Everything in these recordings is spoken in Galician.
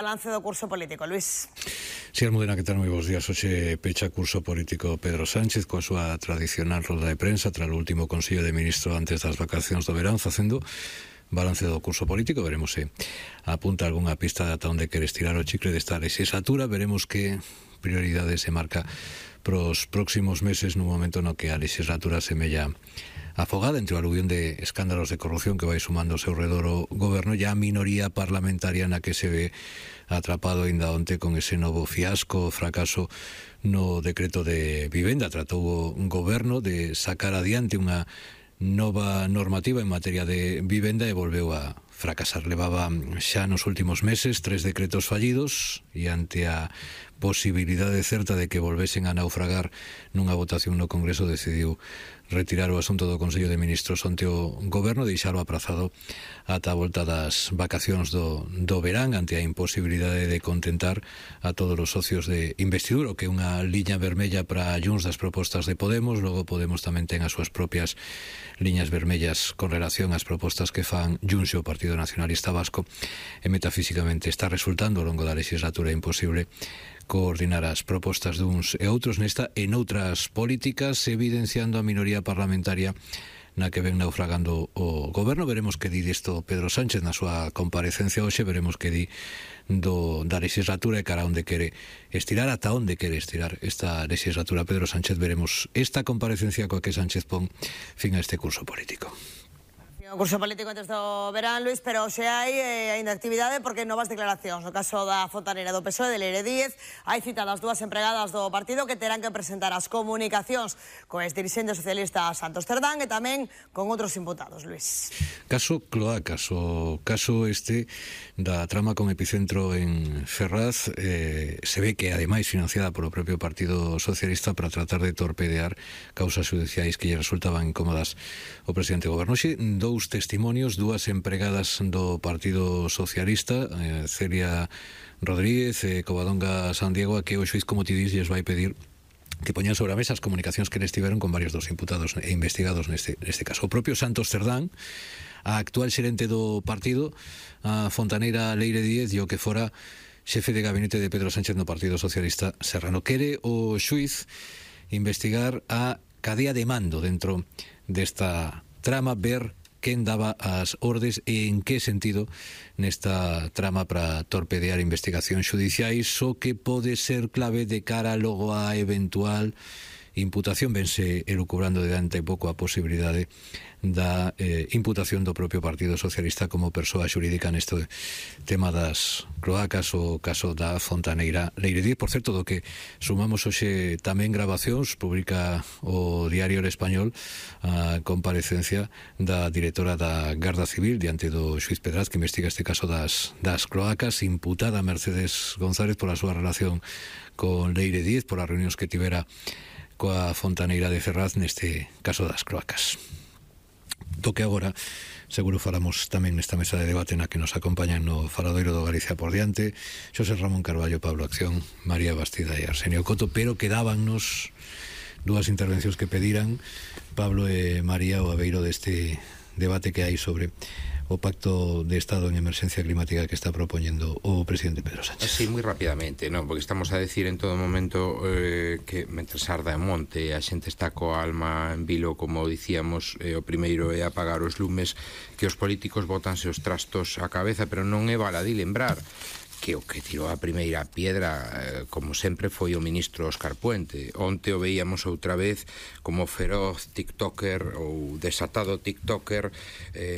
Balance do curso político, Luís. Si, Almudena, que tal? Moi bons días. Hoxe pecha curso político Pedro Sánchez coa súa tradicional roda de prensa tras o último Consello de Ministros antes das vacacións do verán, facendo balance do curso político. Veremos se apunta algunha pista de ata onde quere estirar o chicle desta legislatura. Veremos que prioridade se marca pros próximos meses nun momento no que a legislatura semella afogada entre o aluvión de escándalos de corrupción que vai sumando ao seu redor o goberno e a minoría parlamentaria na que se ve atrapado ainda onte con ese novo fiasco, fracaso no decreto de vivenda. Tratou o goberno de sacar adiante unha nova normativa en materia de vivenda e volveu a fracasar. Levaba xa nos últimos meses 3 decretos fallidos e ante a posibilidade certa de que volvesen a naufragar nunha votación no Congreso decidiu retirar o asunto do Consello de Ministros onte o goberno, deixalo aprazado ata a volta das vacacións do verán ante a imposibilidade de contentar a todos os socios de investidura, que é unha liña vermella para Junts das propostas de Podemos. Logo Podemos tamén ten as súas propias liñas vermellas con relación ás propostas que fan Junts e o Partido Nacionalista Vasco, e metafísicamente está resultando ao longo da legislatura imposible coordinar as propostas duns e outros nesta e noutras políticas, evidenciando a minoría parlamentaria na que ven naufragando o goberno. Veremos que di disto Pedro Sánchez na súa comparecencia hoxe, veremos que di da legislatura e cara onde quere estirar, ata onde quere estirar esta legislatura Pedro Sánchez. Veremos esta comparecencia coa que Sánchez pon fin a este curso político. O curso político antes do verán, Luís, pero xe hai aínda actividade porque novas declaracións. No caso da fontaneira do PSOE, de Leire Díez, hai citadas 2 empregadas do partido que terán que presentar as comunicacións co exdirixente socialista Santos Cerdán e tamén con outros imputados, Luís. Caso Cloacas, o caso este da trama con epicentro en Ferraz, se ve que ademais financiada polo propio Partido Socialista para tratar de torpedear causas judiciais que lle resultaban incómodas o presidente do goberno. Xe, dous testimonios, 2 empregadas do Partido Socialista, Celia Rodríguez e Covadonga Sandiego, a que o xuiz, como ti dis, lles vai pedir que poñan sobre a mesa as comunicacións que les tiveron con varios dos imputados e investigados neste caso. O propio Santos Cerdán, a actual xerente do partido, a fontaneira Leire Díez e o que fora xefe de gabinete de Pedro Sánchez no Partido Socialista Serrano. Quere o xuiz investigar a cadea de mando dentro desta trama, ver quen daba as ordes e en que sentido nesta trama para torpedear investigacións xudiciais, o que pode ser clave de cara logo a eventual imputación. Vense elucubrando de ante pouco a posibilidade da imputación do propio Partido Socialista como persoa xurídica neste tema das cloacas, o caso da fontaneira Leire Díez. Por certo, do que sumamos hoxe tamén grabacións, publica o Diario El Español a comparecencia da directora da Garda Civil diante do xuiz Pedraz que investiga este caso das cloacas, imputada Mercedes González pola súa relación con Leire Díez, polas reunións que tivera coa fontaneira de Ferraz neste caso das cloacas. Do que agora seguro falamos tamén nesta mesa de debate na que nos acompañan no faladoiro do Galicia por diante Xosé Ramón Carballo, Pablo Acción, María Bastida e Arsenio Coto, pero quedábannos 2 intervencións que pediran Pablo e María o abeiro deste debate que hai sobre o Pacto de Estado en Emerxencia Climática que está propoñendo o presidente Pedro Sánchez. Sí, moi rapidamente, non, porque estamos a decir en todo momento que mentre arda en monte a xente está coa alma en vilo, como dicíamos, o primeiro é apagar os lumes, que os políticos botanse os trastos á cabeza, pero non é baladí lembrar que o que tirou a primeira piedra, como sempre, foi o ministro Óscar Puente. Onte o veíamos outra vez como feroz tiktoker ou desatado tiktoker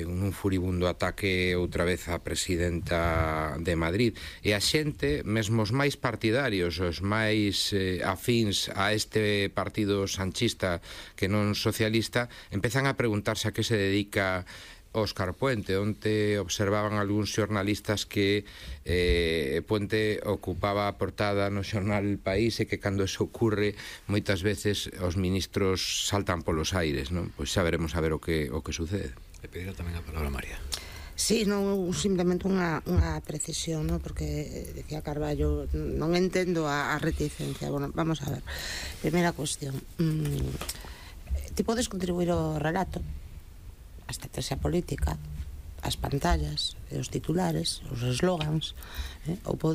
nun furibundo ataque outra vez á presidenta de Madrid. E a xente, mesmo os máis partidarios, os máis afíns a este partido sanchista que non socialista, empezan a preguntarse a que se dedica Óscar Puente. Onte observaban algúns xornalistas que Puente ocupaba a portada no xornal El País e que cando eso ocurre moitas veces os ministros saltan polos aires, non? Pois xa veremos a ver o que sucede. Le pedirá tamén a palabra a María. Sí, non simplemente unha precisión, ¿no? Porque decía Carballo, non entendo a reticencia. Bueno, vamos a ver. Primeira cuestión. Ti podes contribuir ao relato, a estrategia política, as pantallas, os titulares, os eslogans, ou pode